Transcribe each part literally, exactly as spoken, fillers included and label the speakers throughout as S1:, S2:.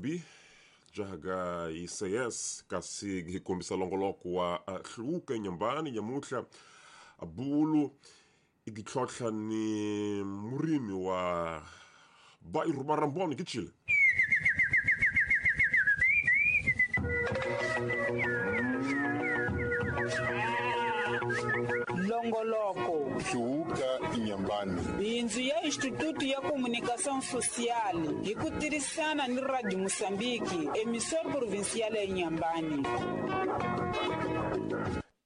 S1: B jaga I C S kasi hi kombisa longoloko wa hluka nyambani nyamuhla bulu igitlhotlha ni murimi wa bairro Maramboni kichile.
S2: Longoloko
S3: Hluka Inhambane.
S2: Bindzu ya Instituto ya Comunicação Social hi ku tirhisana ni Radio Moçambique, emissora provincial ya Inhambane.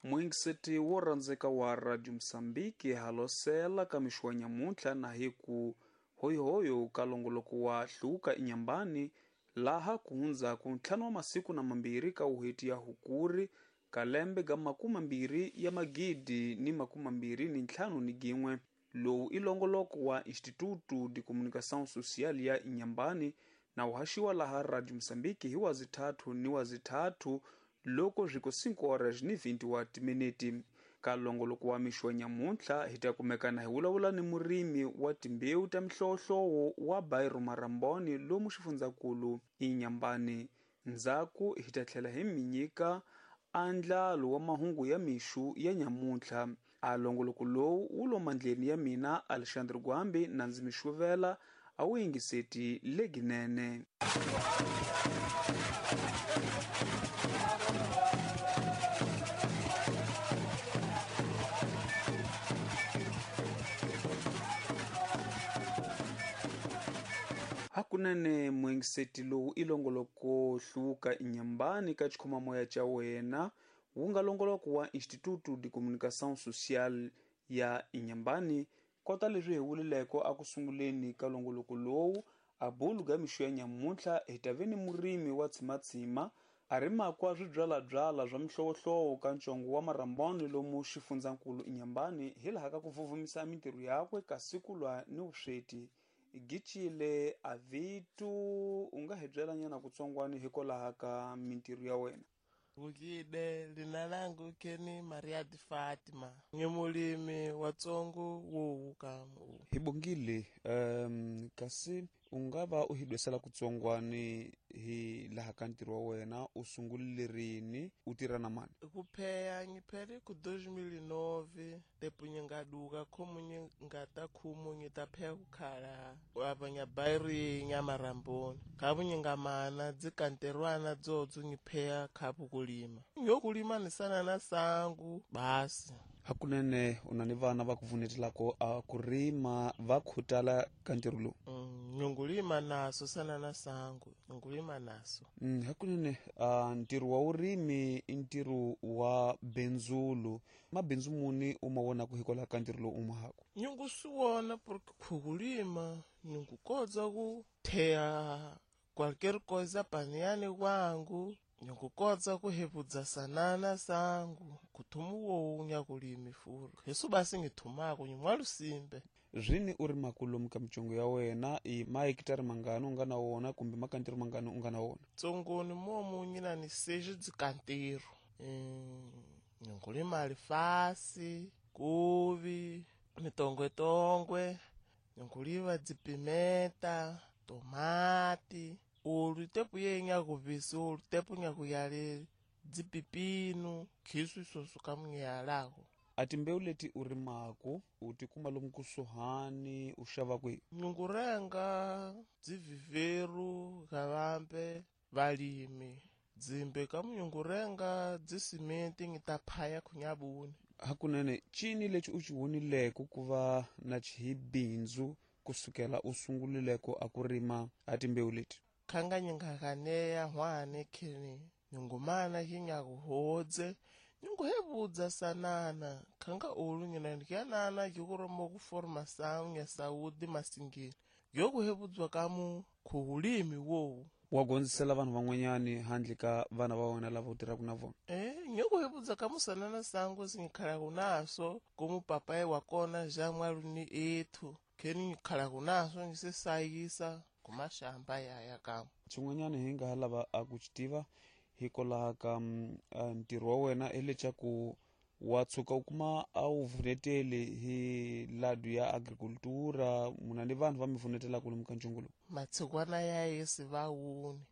S4: Muingiseti wo rhandzeka wa Radio Moçambique halosela ka mixo wa nyamuntlha na hi ku hoyihoyo ka longoloko wa Hluka Inhambane laha ku hundzaku ntlhanu wa masiku na mambirhi ka uheti ya Hukuri kalembe ga makumi mambirhi ya magidi ni makumi mambirhi ni ntlhanu ni gin'we. Lowu i longoloko wa Instituto de Comunicação Social ya Inhambane na uhaxiwa laha Radio Moçambique hi wazithathu ni wazithathu loko zviko cinco horas ni vinte wa timiniti. Ka longoloko wa mixo wa nyamuntlha hi ta kumekana hi vulavula ni murimi wa timbewu ta mihlovohlovo wa bairro Maramboni lomu xifundzankulu Inhambane. Ndzhaku hi ta tlhela hi mi nyika andlalo wa mahungu ya mixu ya nyamuntlha. A longoloko lowu wu lo mandleni ya mina Alexandre Gwambi na ndzi mi xuvela a wu yingiseti leginene. Hakunene muingiseti lowu i longoloko Hluka Inhambane ka xikhomamoya xa wena wu nga longoloko wa Instituto de Comunicação Social ya Inhambane. Kota leswi hi vulileko a ku sunguleni ka longoloko lowu a bulu ga mixo ya nyamuntlha hi ta ve ni murimi wa tshimatsima a rimakwa swibyalabyala swa mihlovohlovo ka ntsongo wa Maramboni lomu xifundzankulu Inhambane hi laha ka ku vuvumisa mintirho yakwe kasi ku lwa ni vusweti. Gichile avitu u nga hi byela nyana kutsongwani hikwalaho ka mintirho ya wena.
S5: Vukile lina langu keni Maria de Fatima, ngi mulimi wa tsongo wo ka.
S4: Hi bongile um kasi u nga va u hi dwesela kutsongwani hi laha ka ntirho wa wena u sungulile rini u tirha na mani?
S5: Ku pheya ngiphele ku dois mil e nove tepo ngingaduka khomu ngata khumu ngitapheya kukhala abanya bairi nya Maramboni khabu ngingamana dzikanterwana dzotso ngipheya khabu kulima ngiyokulima nisana na sangu basi.
S4: Hakunene u na ni vana va ku pfunetelako a ku rima va khutala ka ntirho lowu?
S5: Mm, ngingulima naso sana na sangu ngingulima naso.
S4: Mm, hakunene uh, ntirho wa vurimi i ntirho wa benzulu mabindzu muni u ma vonaka hikwalaho ka ntirho lowu u ma haku?
S5: Ngingu swi vona porque khukulima ningukotsa ku theya qualquer coisa paniyani kwangu ngikukotsa kuhebudza sanana sangu kuthumu wo nyakulimi furu hesu basi ngithumako nyimwalusimbe.
S4: Zwini u ri makulomu ka mitsongo ya wena i mahekitari mangani u nga na wona kumbe makantiro mangani u nga na wona?
S5: Tsongoni momu nyina ni seji dzikantiro mm, ngingulima alifasi kuvi mitongwetongwe ngikuliva dzipimeta tomati ulu tepu ye nyakuvisi ulu tepu nyakuyale dzipipinu khisu isoso kamunyalako.
S4: A timbewu leti u rimaku u tikuma lomu kusuhani u xava kwihi?
S5: Nyungurenga dziviveru gavambe valimi dzimbe kamunyungurenga dzisimenti ngitaphaya khunyabuni.
S4: Hakunene cini lexi u xi vonileko ku va na xihibindzu kusukela u sungulileko a ku rima a timbewu leti?
S5: Khanga nyingakaneya hwane kheni nyungumana hinyakuhodze nyunguhebudza sanana khanga ulu nyina ndikyanana kikuromo kuforma sangu ya saudi masingini yokuhebudzwa kamu khuhulimi wowu.
S4: Wa gondzisela vanhu van'wanyani handle ka vana va wena lava u tirhaka na vona?
S5: Eh, nyokuhebudza kamu sanana sangu singikhala naso komu papaye wa kona ja mwaluni ethu kheni ngikhala kunaso ngisesayisa kumashamba yaya kamu.
S4: Xin'wanyana hi nga ha lava a ku xi tiva hikwalaho ka ntirho wa wena i leswaku wa tshuka u kuma a wu vuneteli hi ladu ya agricultura muna ni vanhu va mi vunetelaka lomu ka ntshungu lowu?
S5: Matshikwana ya yesi va wuni.